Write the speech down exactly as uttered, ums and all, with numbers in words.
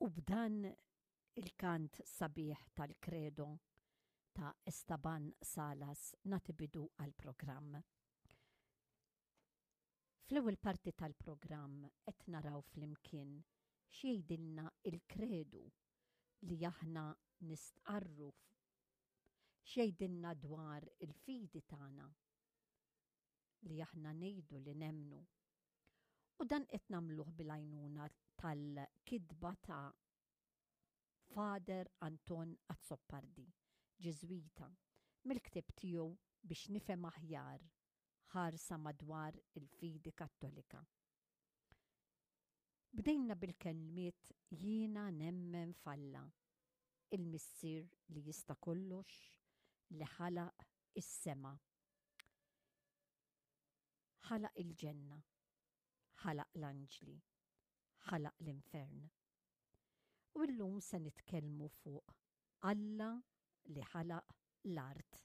U b'dan il-kant sabiħ tal-Credo ta' Estaban Salas nagħti bidu għall-programm. Fl-ewwel parti tal-programm qed naraw flimkien x'jgħidilna il-kredu li aħna nistqarru, x'jgħidilna dwar il-fidi tagħna li aħna ngħidu li nemmnu. U dan qed nagħmluh bil-għajnuna tal-kitba ta' Father Anton Azzopardi, Ġiżwita, mill-ktieb tiegħu Biex Nifhem Aħjar, Ħarsa Madwar il-Fidi Kattolika. Bdejna bil-kelmiet "Jiena nemmen f'Alla, il-Missier li jista' kollox, li ħalaq is-sema, ħalaq il-ġenna, ħalaq l-anġli, ħalaq l-infern." U llum se nitkellmu fuq Alla li ħalaq l-art.